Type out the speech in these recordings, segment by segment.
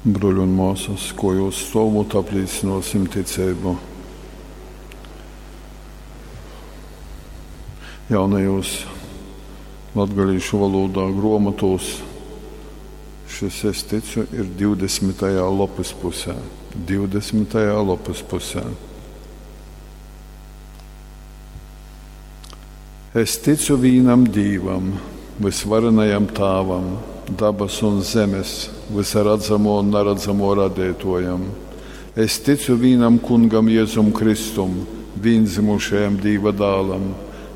Bruoļi un muosys, kuojuos stuovūt, aplīcynuosim ticeibu. Jaunajūs latgalīšu volūdā gruomotuos šys "Es ticu" ir 20. lopys pusē. 20. lopys pusē. Es ticu vīnam Dīvam, vysvarenajam Tāvam, dabasu un zemes, vysa radzamuo un naradzamuo radeituojam. Es ticu vīnam Kungam Jezum Kristum, vīndzymušajam Dīva dālam,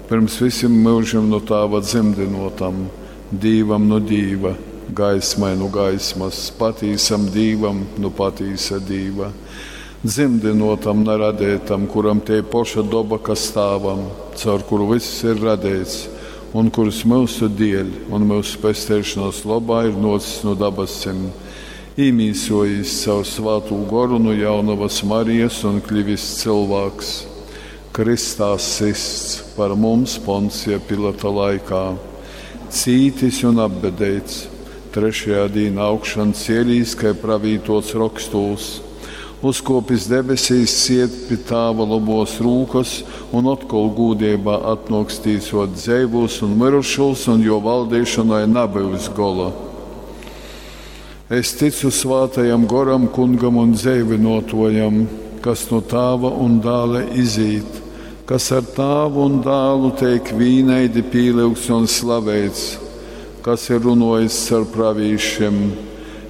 pyrms vysim myužim nu Tāva dzymdynuotam, Dīvam nu Dīva, gaismai nu gaismas, patīsam Dīvam nu patīsa Dīva, dzymdynuotam, na radeitam, kuram tei poša doba, kas Tāvam, caur kuru vyss ir radeits, un kurs myusu dieļ un myusu pesteišonuos lobā ir nuocis nu dabasim, īmīsuojīs caur Svātū Goru nu Jaunovys Marijas un klivis cylvāks, krystā systs par mums Poncija Pilata laikā, cītis un apbedeits, trešajā dīnā augšan cielīs, kai pravītuots rokstūs, uzkuopis debesīs, sied pi Tāva lobuos rūkys un otkol gūdeibā atnuoks tīsuot dzeivūs un myrušūs, un juo valdeišonai nabyus gola. Es ticu Svātajam Goram, Kungam un dzeivynuotuojam, kas nu Tāva un Dāla izīt, kas ar Tāvu un Dālu teik vīnaidi pīlyugts un slaveits, kas ir runuojis caur pravīšim.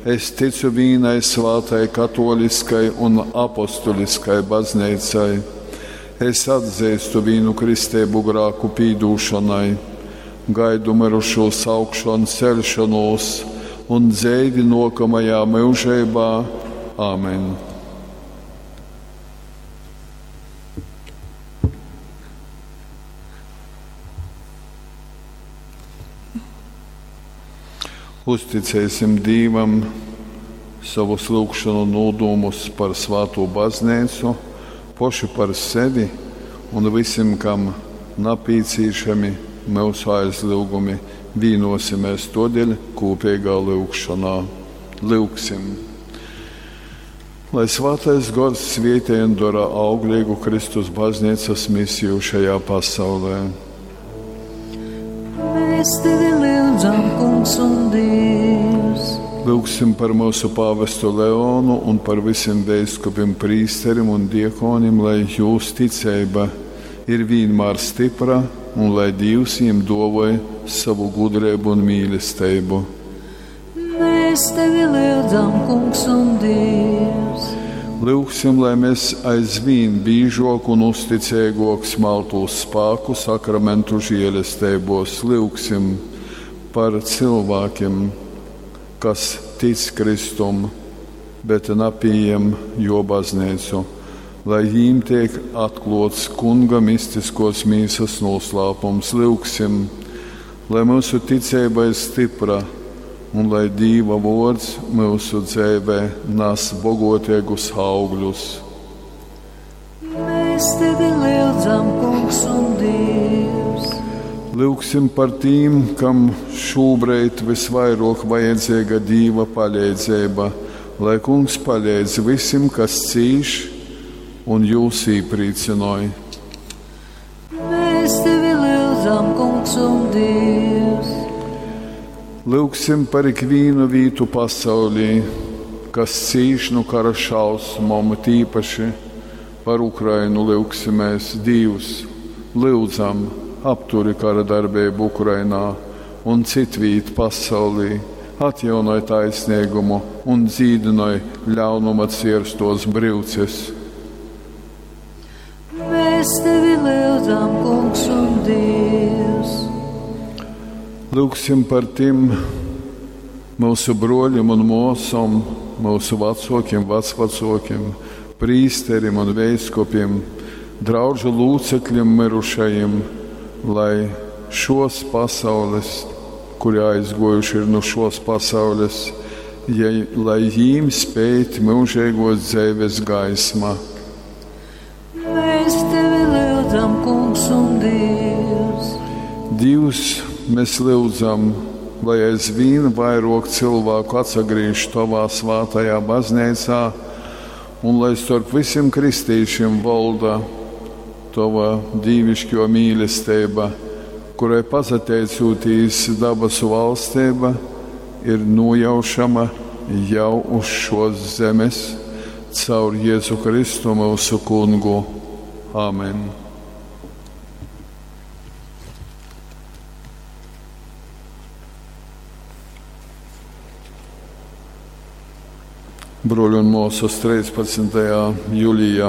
Es ticu vīnai svātai katoliskai un apostuliskai bazneicai. Es atzeistu vīnu kristeibu grāku pīdūšonai, gaidu myrušūs augšonceļšonūs un dzeivi nuokamajā myužeibā. Āmen. Uzticēsim Dīvam sovus lyugšonu nūdūmus par svātū bazneicu, poši par sevi un vysim, kam napīcīšami myusu aizlyugumi. Vīnuosimēs tuodeļ kūpeigā lyugšonā. Lyugsim! Lai Svātais Gors svietej un dora augleigu Kristus bazneicas misiju šajā pasaulē. Mēs tevi lyudzam, Kungs un Dievs. Lyugsim par myusu pāvestu Leonu un par vysim veiskupim, prīsterim un diekonim, lai jūs ticeiba ir vīnmār stypra un lai Dīvs jim duovoj sovu gudreibu un mīlesteibu. Mēs tevi lyudzam, Kungs un Dievs. Lyugsim, lai mēs aizvīn bīžuok un uzticeiguok smaltūs spāku sakramentu žielesteibos. Lyugsim par cylvākim, kas tic Kristum, bet napījem juo bazneicu, lai jīm teik atkluots Kunga mistiskuos mīsys nūslāpums. Lyugsim, lai myusu ticeiba ir stypra un lai Dīva vuords myusu dzeivē nas boguoteigus augļus. Mēs tevi lyudzam, Kungs un Dievs. Lyugsim par tīm, kam šūbreid vysvairuok vajadzeiga Dīva paleidzeiba, lai Kungs paleidz vysim, kas cīš un jūs īprīcynoj. Mēs tevi lyudzam, Kungs un Dievs. Lyugsim par ikvīnu vītu pasaulī, kas cīš nu kara šausmom, tīpaši par Ukrainu lyugsimēs. Dīvs, lyudzam, apturi kara darbeibu Ukrainā un citvīt pasaulī, atjaunoj taisneigumu un dzīdynoj ļaunuma cierstuos bryuces. Mēs tevi lyudzam, Kungs un Dievs. Lyugsim par tim myusu bruoļim un muosom, myusu vacuokim, vacvacuokim, prīsterim un veiskupim, draudžu lūcekļim myrušajim, lai šuos pasaules, kuri aizguojuši ir nu šuos pasaules, ja, lai jīm speit myužeiguos dzeives gaisma. Mēs tevi lyudzam, Kungs un Dievs. Dīvs, mēs lyudzam, lai aizvīn vairōk cylvāku atsagrīž Tovā svātajā Bazneicā un lai storp vysim kristīšim volda Tova dīviškō mīlesteiba, kurai pasateicūtīs dabasu valsteiba ir nūjaušama jau uz šōs zemes, caur Jezu Kristu myusu Kungu. Amen. Bruoļi un muosas, 13. jūlijā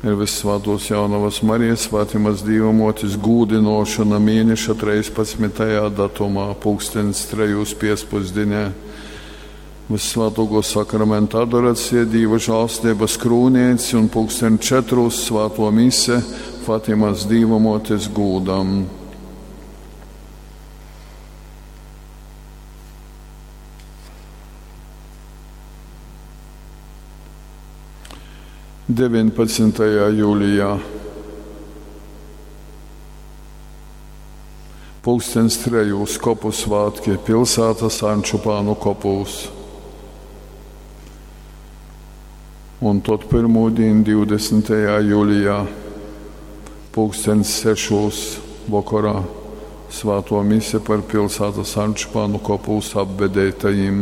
ir Vyssvātuos Jaunovas Marijas Fatimas Dīvamuotis gūdynuošona mieneša 13. datumā, pulkstenis trejūs piecpusdīnē. Vyssvātuokuo sakramenta adoracija, Dīva žālsteibas krūneits un pulksten četrūs svātuo mise Fatimas Dīvamuotis gūdam. 19. jūlijā pulkstens trejūs kopu svātki pilsētas Ančupānu kopūs. Un tod pirmūdīn 20. jūlijā pulkstens sešūs vokorā svāto mise par pilsētas Ančupānu kopūs apbedeitajim.